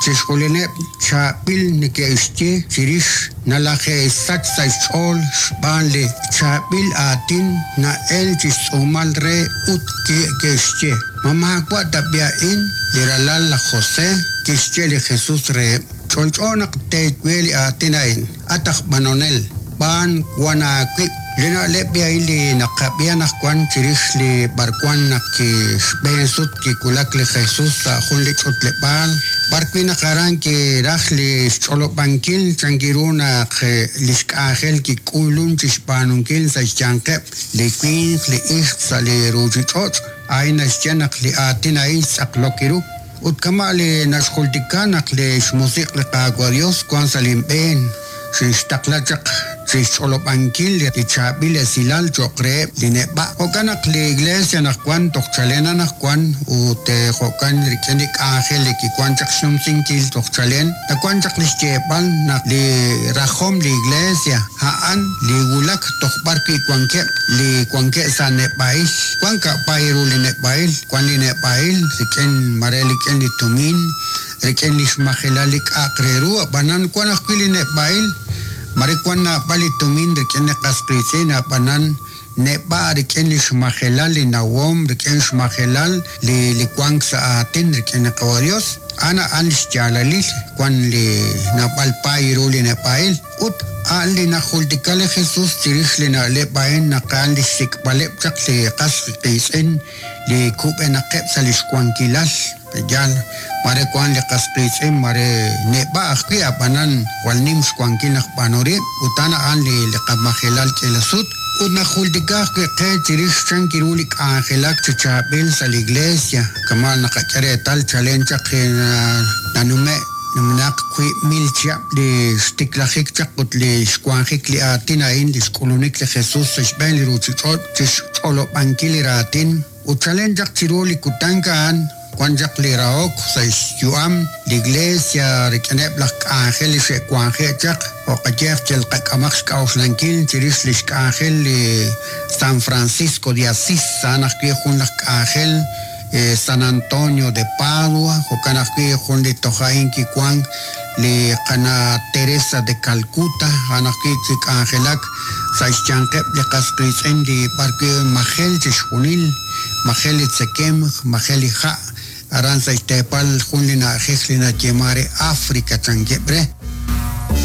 Chixjunileb' chaab'il neke'xye chirix, nalaje'xsach sa' xch'ool xb'aan li chaab'il aatin na'elk chi xtz'uumal re ut ke'xye, Ma maawa' tab'i' a'in li ralal laj José? Kixye li Jesús reheb', Ch'olch'o naq teeye li aatin a'in, At aj b'anonel, b'aan wan aawib'. Li na'leb' a'in li naqab'i anaqwan chirix li b'arwan naq xb'een sut kiwulak li Jesús sa' jun li ch'utleb'aal, b'arwi' naq aran kiraj li xch'olob'ankil chankiru naq li xk'anjel kik'ulun chi xb'aanunkil sa' xyanqeb' li winq li ixq sa' li ruuchich'och', a'in naxye naq li aatin a'in xtz'aqlok ru. Ut kama' li naxjultika naq li xmusiq' li Qaawa' Yos wank sa' linb'een, xinxtaqla chaq chi xch'olob'ankil li chaab'il esilal cho'q reheb' li neb'a'. Jo'kan naq li Iglees anaqwan toj chalen anaqwan ut jo'kan rik'in li k'anjel li kiwank chaq xnumsinkil toj chalen, nawank chaq li xyeeb'al naq li rajom li Iglesia a'an li wulak toj b'ar wi' wankeb' li wankeb' sa' neb'a'il. Wank ka'paay ru li neb'a'il, wank li neb'a'il rik'in mare rik'in li tumin, rik'in li xmajelal li k'a'aq re ru, ab'anan wank ajwi' li neb'a'il, mare wank naab'al li tumin rik'in li qas qiitz'in, ab'anan neb'a' rik'in li xmajelal li nawom, rik'in xmajelal li li wank sa' aatin rik'in li Qawa' Yos. A'an a'an li xyaalalil wank li naab'al paay ru li neb'a'il. Ut a'an li najultika li Jesús chirix li na'leb' a'in naq a'an li xsik'b'aleb' chaq li qas qiitz'in li kub'enaqeb' sa' li xwankilal. Yaal, mare wank li qas qiitz'in mare neb'a' ajwi' ab'anan jwal nim xwankil naq b'aanu rib' ut a'an a'an li li qamajelal k'iila sut. Ut najultika ajwi' qe chirix chan kiru li k'anjelak chi chaab'il sa' li Iglesia, kama' naqak'e reetal chalen chaq nanume' numenaq 1000 chihab' li xtiklajik chaq ut li xwanjik li aatin a'in li xk'ulunik li Jesus sa' xb'een li ruuchich'och' chi xch'olob'ankil li raatin. Ut chalen chaq chiru li kutan a'an wan chaq li rahok sa' xyu'am li Iglesia rik'ineb' laj k'anjel li xe'wanje' chaq, jo' qayehaq yal qak'amaq xk'a'uxlankil chirix lix k'anjel li San Francisco de Asís, a'an ajwi' jun laj k'anjel San Antonio de Padua, jo'kan ajwi' jun li toj a'in kiwank li qana' Teresa de Calcuta, a'an ajwi' kik'anjelak sa' xyanqeb' li qas qiitz'in li b'arwi' majel chixjunil, majel li tzekemq, majel li ha', aran sa' xteepal jun li na'ajej li nayeeman re África chankeb' re.